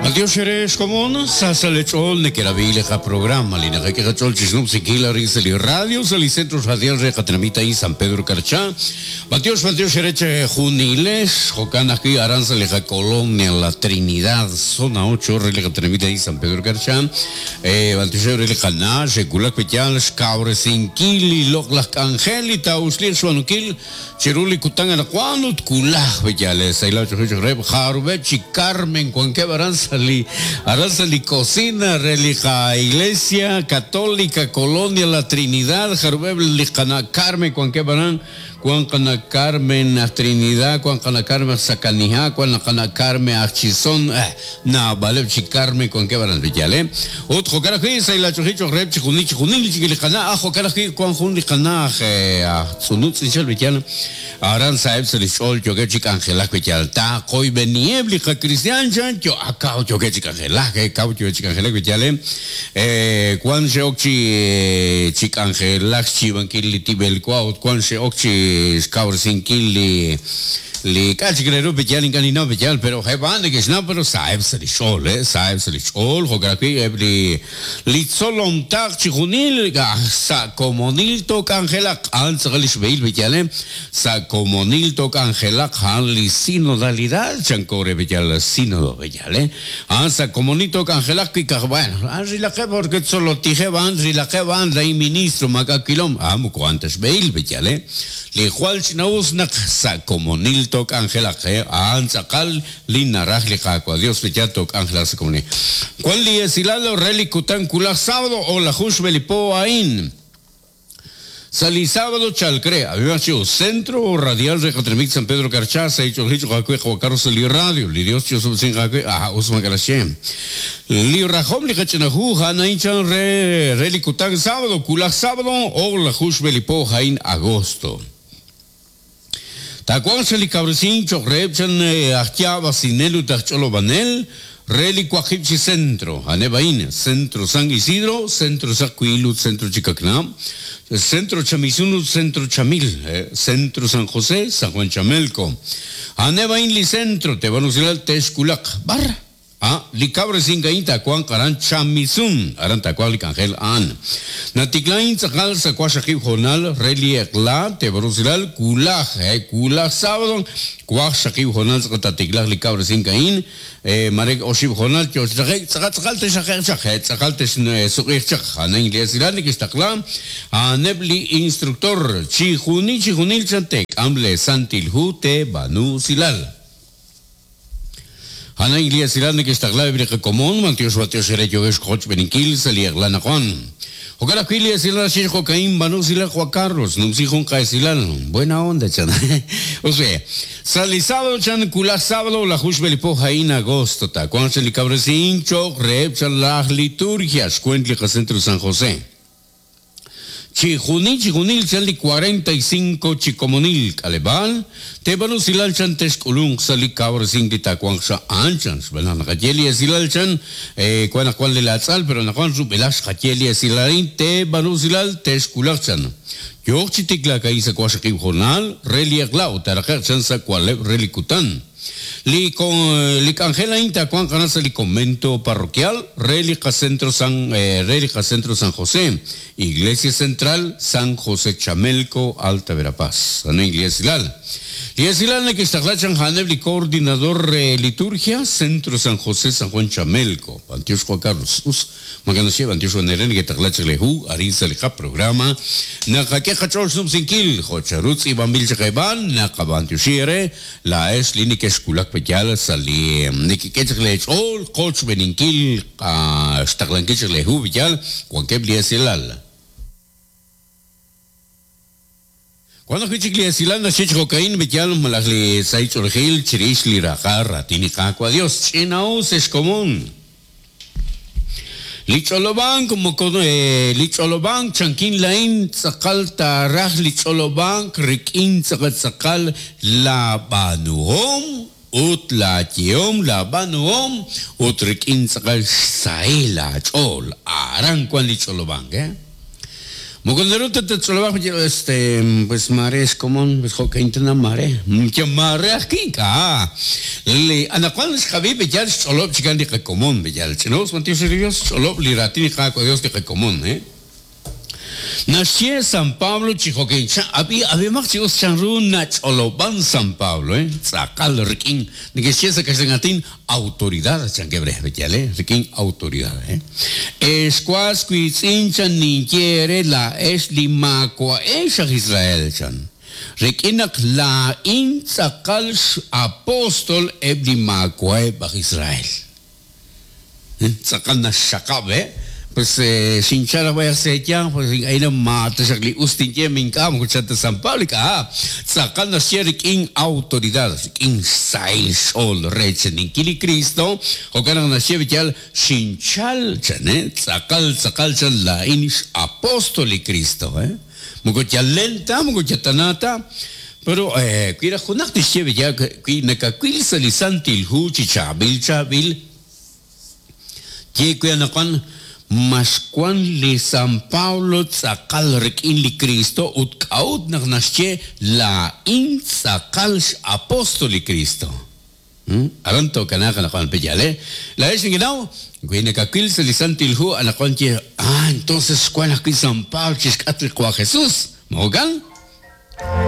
B'antiox eere xkomon, sa sa' lee ch'ool nekerab'i li qaprograma li naqak'e qach'ool chixnumsinkil arin sa' li radio sa' li Centro Radial re qatenamit a'in San Pedro Carchá. B'antiox, b'antiox eere chejunilex, jo'kan ajwi' aran sa' li qacolonia La Trinidad, Zona 8 re li qatenamit a'in San Pedro Carchá. B'antiox eere li qana' xe'wulak wi' yaal xkawresinkil li loq'laj k'anjel li taa'uxliiq xb'aanunkil Chiru li kutan anaqwan ut wulaj pe yaal sahilal ch'och'il cho'q reheb' jarub'eb' chi Carmen wankeb' aran sa' li aran sa' li cocina re li qa Iglesia Católica Colonia La Trinidad jarub'eb' li qana' Carmen wankeb' aran wan qana' Carmen aj Trinidad wan qana' Carmen aj Sakaniha wan qana' Carmen aj Chison eh naab'aleb' chi Carmen wankeb' aran pe yaal ut jo'kan ajwi' sahilal ch'och'il cho'q reheb' chijunil chijunil chik li qana' aj jo'kan ajwi' wan jun li qana' aj aj Tz'unun tz'inchal b'eyal, aran sa'eb' sa' li xch'ool yookeb' chi k'anjelak b'eyal. Taqoyb'eniheb' li qakristiaan chan yo ak kaw yookeb' chi k'anjelak, kaw yookeb' chi k'anjelak b'eyal, wan xe'ok chi chi k'anjelak xyiib'ankil li tib'el wa ut wan xe'ok chi xkawresinkil li Li k'a' chik re ru b'eyal ink'a' ninnaw b'eyal, pero eb' a'an neke'xnaw pero sa'eb' sa' li xch'ool, sa'eb' sa' li xch'ool, jo'kan ajwi' eb' li Li tzolom taq chijunil sa' komonil took'anjelaq, a'an tz'aqal li xb'ehil b'eyalem, sa' komonil took'anjelaq, a'an li sinodalidad, chanko re b'eyal sínodo b'eyal, a'an sa' komonil took'anjelaq wi' kaj, bueno, a'an rilaqeb' porque tzolotijeb' a'an rilaqeb' a'an lay ministro maak'a' wilom, a'an moko a'an ta xb'ehil b'eyal, li jwal ch'ina'us naq sa' komonil took'anjelaq, a'an tz'aqal Li naraj li Qaawa' Dios li yaal took'anjelaq sa' komonil. Wan li esilal re li kutan wulaj sábado o'laju xb'e li po a'in. Sa' li sábado chalk re, ab'ihaq chi us, Centro Radial re qatenamit San Pedro Carchá, sa' ich'oolji cho'q aawe Qawa' Carlos sa' li radio. Li Dios chi'osob'tesinq aawe, aha, us maak'a' naxye. Li rajom li qach'ina hu a'an a'in chan re re li kutan sábado wulaj sábado o'laju xb'e li po a'in agosto. Taawanq sa' li kawresink cho'q reheb' chan aj yaab'asinel ut aj ch'olob'anel re li waqib' chi centro, a'aneb' a'in, Centro San Isidro, Centro Saqwiil ut Centro Chikakna, Centro Chamisun ut Centro Chamil, Centro San José, San Juan Chamelco. A'aneb' a'in li centro te'b'an usilal te'xwulaq b'ar. A Li kawresink a'in taawanq aran Chamisun, aran taawanq li k'anjel a'an. Natikla a'in tz'aqal sa' waqxaqib' hoonal re li eq'la, teeb'al rusilal, wulaj, he, wulaj sábado, waqxaqib' hoonal tz'aqal taatiklaaq li kawresink a'in, mare oxib' hoonal yoo chi taqe'k, tz'aqal tz'aqal texraqe'q chaq, he, tz'aqal texsuq'iiq chaq. A'an a'in li esilal neke'xtaqla a'aneb' li instructor, chijunil chijunil chan teek'am lee Santil Hu teeb'aanu usilal. A'an a'in li esilal neke'xtaqla eb' li qakomon, b'antiox b'antiox eere yookex xqochb'eeninkil sa' li eq'la anaqwan. Jo'kan ajwi' li esilal naxye jo'ka'in b'aanu usilal Juan Carlos, numsi jun qa'esilal. Buena onda chan. Us be, sa' li sábado chan wulaj sábado laju xb'e li po a'in agosto taawanq chan li kawresink cho'q reheb' chan laj liturgia xweent li qacentro San José. Chijunil chijunil chan li 45 chi komonil k'aleb'aal, teeb'aanu usilal chan texk'ulunq sa' li kawresink li taawanq sa' a'an chan, xb'aan naq naqaye li esilal chan, wan naq wan li laatz'al pero anaqwan rub'elaj xqaye li esilal a'in, teeb'aanu usilal texwulaq chan. Yooq chi tiklaak a'in sa' waqxaqib' hoonal re li eq'la ut taaraqe'q chan sa' wa'leb' re li kutan. Li li k'anjel a'in taawanq aran sa' li Convento Parroquial re li qaCentro San re li qaCentro San José, Iglesia Central, San José Chamelco, Alta Verapaz. A'an li esilal. Li esilal neke'xtaqla chan a'aneb' li Coordinador re Liturgia, Centro San José, San Juan Chamelco. B'antiox Juan Carlos. Us. Maak'a' naxye, b'antiox wan eere neke'taqla chaq lee hu arin sa' li qaprograma. Naqak'e qach'ool xnumsinkil jo' chanru tz'iib'anb'il chaq eeb'aan, naqab'antioxi eere laa'ex li nekexwulak pe yaal sa' li nekek'e chaq lee ch'ool qochb'eeninkil xtaqlankil chaq lee hu pe yaal wankeb' li esilal. Wan ajwi' chik li esilal naxye chi jo'ka'in, B'eyal malaj li sahil ch'oolejil chirix li raqal raatin li Qaawa' Dios. Ch'ina'us ex komon. Li ch'olob'ank moko li ch'olob'ank chankin laa'in tz'aqal taaraj li ch'olob'ank rik'in tz'aqal tz'aqal laa b'aanuhom ut laa yehom laa b'aanuhom ut rik'in tz'aqal xsahil aach'ool. Aran wan li ch'olob'ank, eh. Moko naru ta tatch'olob'aq este pues maare xkomon pues jo'kan tana maare. Ya maare ajwi' ink'a'. Li anaqwan xqab'i b'eyal xch'olob' chikan li qakomon b'eyal. Ch'ina'us b'antiox re li Dios xch'olob' li raatin li Qaawa' Dios li qakomon, eh. Naxye San Pablo chi jo'kan, ab'i, ab'ihomaq chi us chanru nach'olob'an San Pablo, eh, tz'aqal rik'in, neke'xye sa' kaxlan aatin, autoridad, chankeb' re, yal, eh, rik'in autoridad, eh. Ex was wiitz'in, chan, ninye eere laa'ex li maawa'ex aj Israel, chan, rik'in naq laa'in tz'aqal x'apóstol eb' li maawa'eb' aj Israel. Tz'aqal naxxaqab', eh? Pues xinchal raj b'ayaq sa' eeyanq, pues ink'a' ina ma taxaq li us tinye ma ink'a' moko chan ta San Pablo ink'a'. Tz'aqal naxye rik'in autoridad, rik'in xsahil xch'ool reechaninkil li Cristo, jo'kan naq naxye b'iyal xinchal chan, eh? Tz'aqal tz'aqal chan laa'in x'apóstol li Cristo, eh? Moko yal len ta, moko yal tana ta. Pero wi raj junaq tixye b'iyal wi nakawil sa' li Santil Hu chi chaab'il chaab'il, ye we anaqwan ma xwan li San Pablo tz'aqal rik'in li Kristo ut k'a'ut naq naxye laa'in tz'aqal x'apóstol li Kristo. Aran tookanaaq anaqwan pe yaal, eh? Laa'ex nekenaw, wi nakawil sa' li Santil Hu anaqwan ye, ah, entonces xwan ajwi' San Pablo chixk'atq li Qwa' Jesús. Ma jo'kan?